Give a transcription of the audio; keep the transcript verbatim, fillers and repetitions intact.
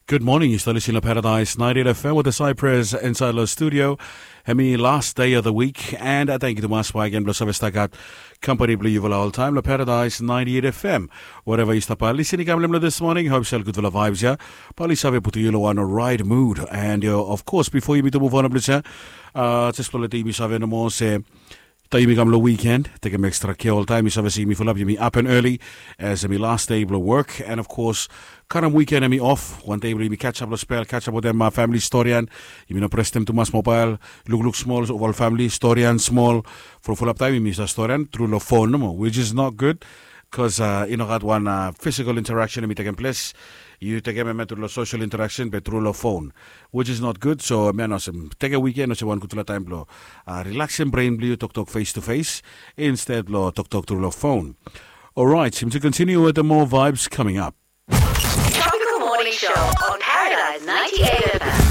Good morning, yu stap lisin long Paradise ninety-eight F M with the Cypress inside long studio. Hemi last day of the week, and uh, thank you tumas baik gen blong save stap gat company blong yufala oltaim long Paradise ninety-eight F M. Whatever yu stap lisin i kam long this morning, hope sel gudfala vibes ya. Bali save putum yu long one right mood, and uh, of course before yumi tu move on blong ya, uh, just blong letim yumi save nomo se taim yumi kam long weekend, tekem extra care oltaim. Yu save se yumi fulap yumi up and early, as hemi last day blong work, and of course karem weekend hemi off. Wan dei blong yumi catch up long spel, catch up wetem uh, family storian. Yumi no prestem tumas mobile, lukluk smol ol family storian smol. Fulap taim yumi sa storian tru long phone nomo, which is not good. Bikos uh, i no gat wan uh, physical interaction hemi tekem ples. Yu tekem em tru long social interaction be tru long phone, which is not good. So mi olsem tekem weekend olsem wan gudfala taim blong uh, relaxem brain blong yu, toktok face to face instead blong toktok tru long phone. Alright, yumi tu continue with the more vibes coming up. Tropical Morning Show on Paradise